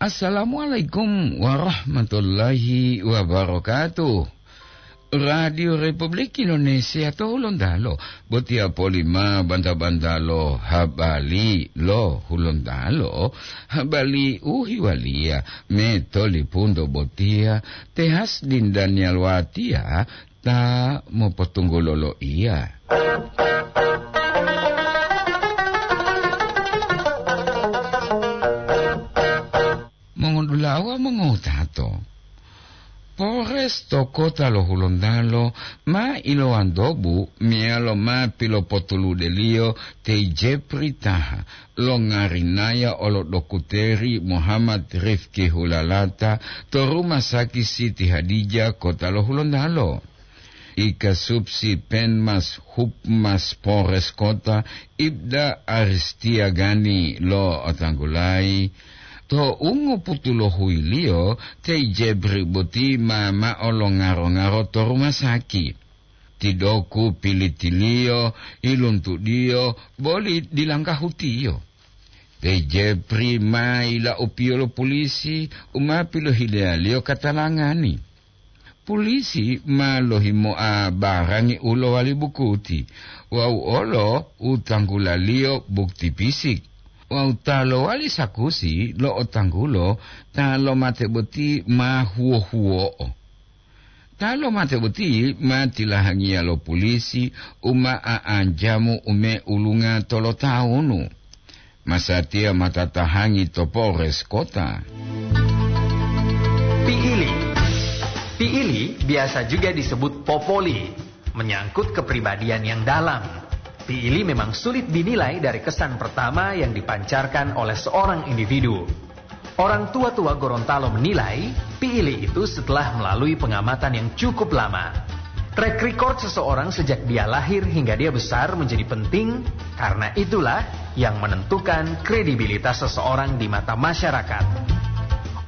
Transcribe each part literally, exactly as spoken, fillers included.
Assalamualaikum warahmatullahi wabarakatuh. Radio Republik Indonesia to Hulontalo, botiya poli ma banta-bantalo habari lo Hulontalo, habari u hiwaliya me tolipunto botiya, te Hasdin Daniel Watiya ta mopotunggulo loiya. Mongodula'a wawu mongowutato, Polres to kota lo Hulontalo ma ilowantobu meyalo ma pilopotuludeliyo te Jepri Taha, longarinaya olo dokuteri Muhammad Rifki Hulalata to Rumah Sakit Siti Hadijah, kota lo Hulontalo. Ikasupsi Penmas Hupmas Polres Kota, Ibda Aristiagani lo otanggulayi, to ungoputulohuiliyo te Jebri boti ma ma'o lo ngaro-ngaro to rumah sakit. Tidoku pilitiliyo, iluntudiyo, boli dilanggahutiyo. Te Jepri ma ila'upiyo lo pulisi u ma pilohileyaliyo katalangani. Pulisi ma lohimoa barangi u lowali bukuti wawu olo u tanggulaliyo bukti pisik, wawu ta lowali sakusi lo otanggulo ta lomate boti ma huwo-huwo'o. Ta lomate boti ma tilahangiya lo pulisi u ma a'anjamu ume ulunga tolotawunu. Masatiya ma tatahangi to Polres Kota. Piili. Piili biasa juga disebut popoli, menyangkut kepribadian yang dalam. Piili memang sulit dinilai dari kesan pertama yang dipancarkan oleh seorang individu. Orang tua-tua Gorontalo menilai, piili itu setelah melalui pengamatan yang cukup lama. Track record seseorang sejak dia lahir hingga dia besar menjadi penting, karena itulah yang menentukan kredibilitas seseorang di mata masyarakat.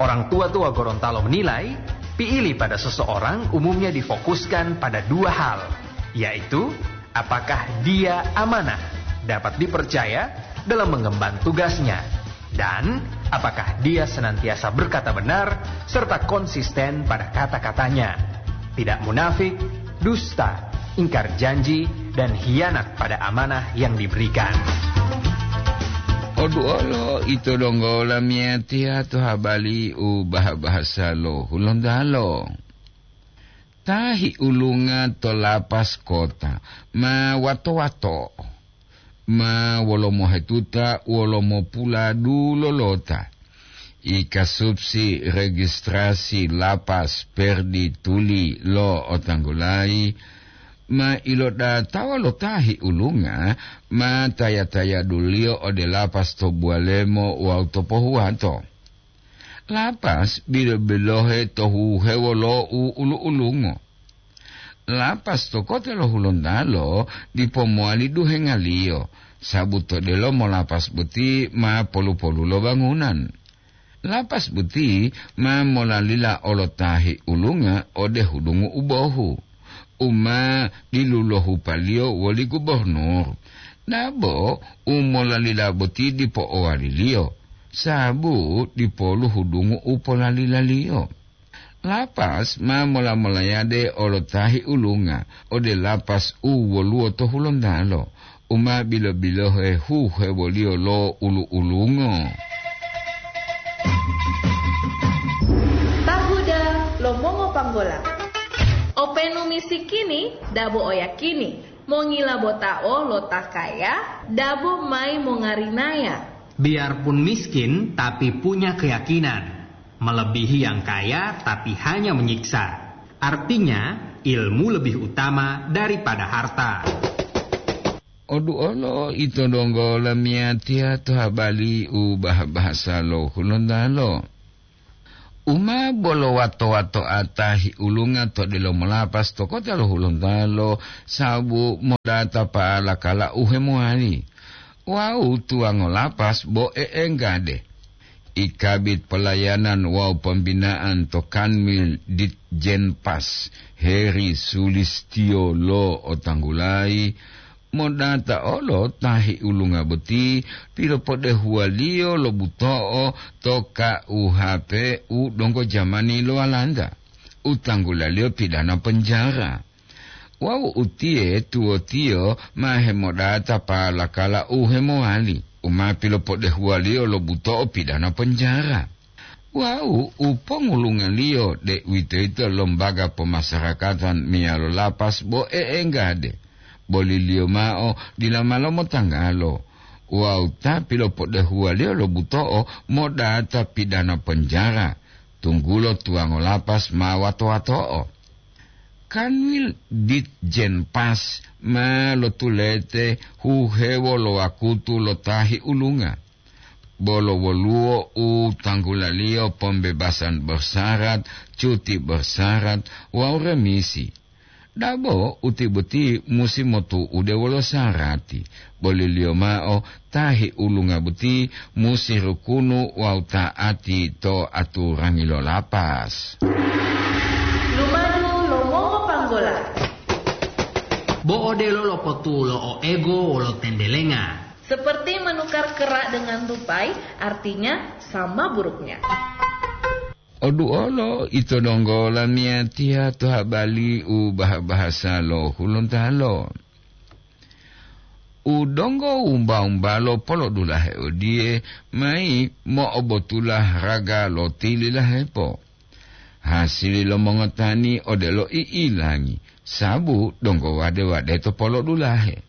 Orang tua-tua Gorontalo menilai, piili pada seseorang umumnya difokuskan pada dua hal, yaitu apakah dia amanah, dapat dipercaya dalam mengemban tugasnya, dan apakah dia senantiasa berkata benar serta konsisten pada kata-katanya, tidak munafik, dusta, ingkar janji, dan hianat pada amanah yang diberikan. Oduolo ito donggo lamiyatiya to habari u bahasa-bahasa lo Hulontalo. Ta hiulunga to lapas kota ma wato-wato, ma wolo mohetuta wolo mopula dulolota. Ikasupsi registrasi lapas Perdi Tuli lo otanggulayi ma ilodatawa lo ta hiulunga ma taya-tayaduliyo ode lapas to Buwalemo wawu to Pohuwato. Lapas bilo-bilohe to huhewo lo u ulu-ulungo. Lapas to kota lo Hulontalo dipo mowali duhengaliyo, sabu to delomo lapas boti ma polu-polu lo bangunan. Lapas boti ma molalila olo ta hiulunga ode hudungu u bohu, u ma dilulohupaliyo woli gubornur. Dabo u molalila boti dipo owaliliyo, sabu dipolu hudungu u polalilaliyo. Lapas ma mola-molayade olo ta hiulunga ode lapas u woluwo to Hulontalo, u ma bilo-bilohe huhewoliyo lo ulu-ulungo. Tahuda lo mongopanggola. Openu misikini, dabo oyakini, mongilabotao lo ta kaya, dabo mayi mongarinaya. Biarpun miskin, tapi punya keyakinan. Melebihi yang kaya, tapi hanya menyiksa. Artinya, ilmu lebih utama daripada harta. Oduolo ito donggo lamiyatiya to habari u bah-bahasa lo Hulontalo. U ma bolo wato-watoa ta hiulunga to delomo lapas to kota lo Hulontalo, sabu modata pa'ala kala u hemowali. Wawu tuwango lapas bo e'enggade. I Kabid Pelayanan wawu Pembinaan to Kanwil Ditjenpas, Heri Sulistio lo otanggulayi, Modata olo ta hiulunga boti pilopodehuwaliyo lo buto'o to K U H P u donggo jamani lo Walanda, u tanggulaliyo pidana penjara. Wawu utiye tuwotiyo ma hemodata palakala u hemowali, u ma pilopodehuwaliyo lo buto'o pidana penjara. Wawu u pongulungaliyo, deuwitoyito lombaga pomasarakatan meyalo lapas bo e'enggade, boliliyo mao dila ma lomotanggalo. Wawu ta pilopodehuwaliyo lo buto'o modata pidana penjara, tunggulo tuwango lapas ma wato-wato'o. Kanwil Ditjenpas ma lotulete huhewo lo wakutu lo ta hiulunga. Bolo woluwo u tanggulaliyo pembebasan bersyarat, cuti bersyarat, wawu remisi. Dabo uti boti musi motu'ude wolo syarati, boliliyo mao ta hiulunga boti musi rukunu wawu ta'ati to aturangi lo lapas. Lumadu lo mongopanggola. Bo odelo lopotulo o ego wolo tendelenga. Seperti menukar kerak dengan tupai, artinya sama buruknya. Oduolo ito donggo lamiyatiya to habali u baha-bahasa lo Hulontalo. U donggo wumba-wumbalo polodulahe odiye, mayi mo'obotula raga lo tililahepo. Hasili lo mongotani odelo i'ilangi, sabu donggo wade-wade to polodulahe.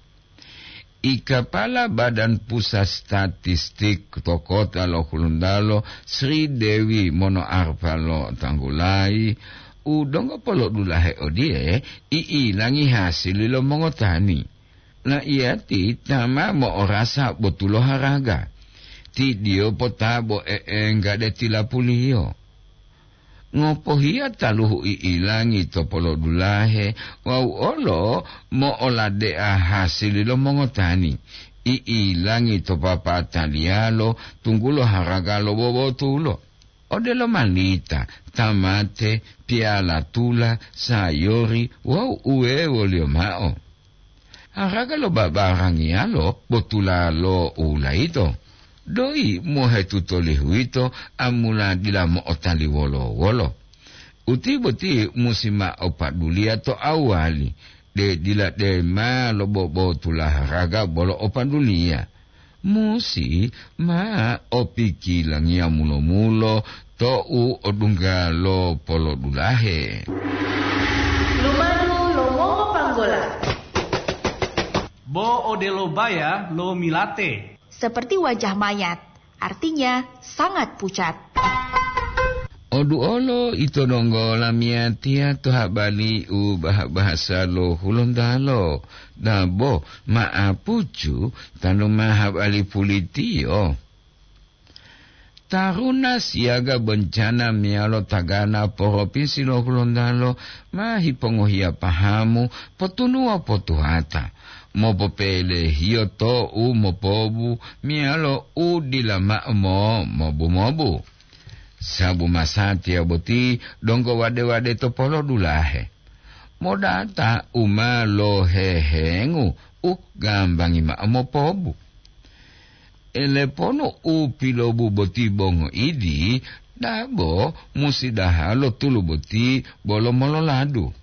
I kapala Badan Pusat Statistik to kota lo Hulontalo, Sri Dewi Monoarfa lo tanggulayi, u donggo polodulahe odiye, i'ilangi hasili lo mongotani. La'iyati ta ma mo'orasa botulo haraga, ti diyo potabo e'enggade tilapuliyo. Ngopohiya taluhu i'ilangi to polodulahe wawu olo mo'oladea hasili lo mongotani, i'ilangi to papataliyalo tunggulo haraga lo bobotulo, odelo malita, tamate, piyala tula, sayori wawu uwewoliyo mao. Haraga lo babarangiyalo botulalo u layito, doyi mohetuto lihuyito amula dila mo'otali wolo-wolo. Uti boti musi mao paduliya to awali, de dila dema lo bobotula haraga bolo o paduliya. Musi ma opikilangiya mulo-mulo to'u odungga lo polodulahe. Lumadu lo mongopanggola. Bo odelo baya lo milate. Seperti wajah mayat, artinya sangat pucat. Oduolo ito donggo lamiyatiya to habali u baha-bahasa lo Hulontalo, dabo ma'apucu tanu ma habali pulitiyo. Taruna siyaga bencana meyalo tagana Poropinsi lo Hulontalo ma hipongohiya pahamu potunuwa potuhata, mopopelehiyo to'u mopobu meyalo u dila ma'o mo-, mobu-mobu. Sabu masatiya boti donggo wade-wade to polodulahe. Modata u ma lohehengu u gambangi ma'o mopobu. Eleponu u pilobu boti bo ngoidi, dabo musi dahalo tulu boti bolo mololadu.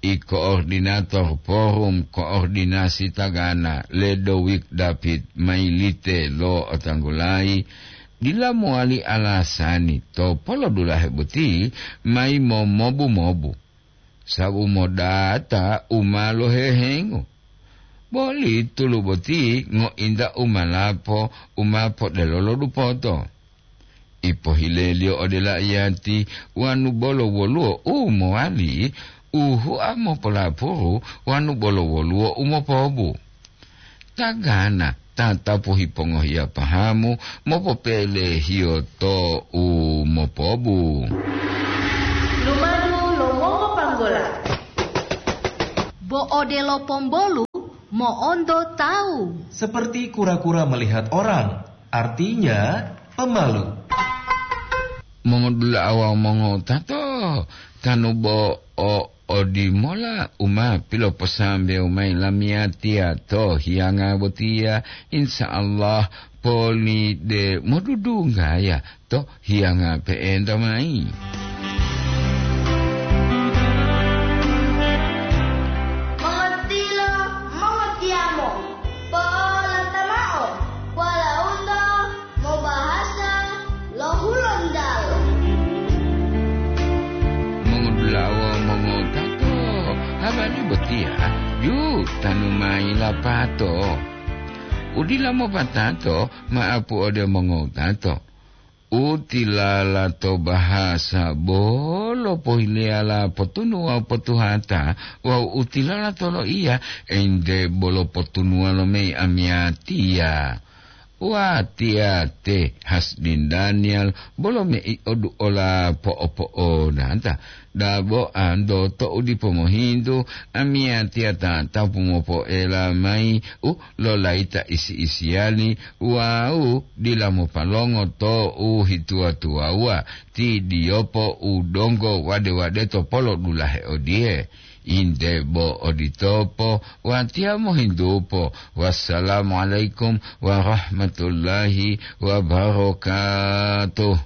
I koordinator Forum Koordinasi Tagana, Ledowik David Mailite lo otanggulayi, dila mowali alasani to polodulahe boti mayi momobu-mobu, sabu modata u ma lohehengu. Boli tulu boti ngointa u malapo u ma podelolo dupoto. Ipohileliyo ode laiyati wanu bolo woluwo u mowali, u hua mopolapuru wanu bolo woluwo u mopobu. Tagana tatapu hipongohiya pahamu mopopelehiyo to u mopobu. Lumadu lo mongopanggola. Bo odelo pombolu mo'onto tawu. Seperti kura-kura melihat orang, artinya pemalu. Mongodula'a wawu mongotato, tanu bo o Odimola u ma piloposambewu mayi lamiyatiya to hiyanga botiya, insya Allah poli de modudunggaya to hiyanga pe'enta mayi. Mongotilo, mongotiyamo, polata mao, walaundo mobahasa lo Hulontalo. Mongodula'a wawu mongotato, habari botiya ju tanu mayi lapato. U dila mopatato ma'apu ode mongotato. U tilala to bahasa bolo pohileyala potunu wawu potuhata, wawu u tilala to loiya ente bolo potunuwa lo mei amiyatiya. Watiya te Hasdin Daniel bolo mei oduola po'opo'onata. Dabo ando to u dipo mohintu, amiyatiya tatapu mopoela mayi u lolayita isi-isiyali wawu dila mopalongo to u hituwa-tuwawuwa, ti diyopo u donggo wade-wadeto polodulahe odiye. Inde bo oditopo, watiya mohintupo. Wassalamualaikum warahmatullahi wabarakatuh.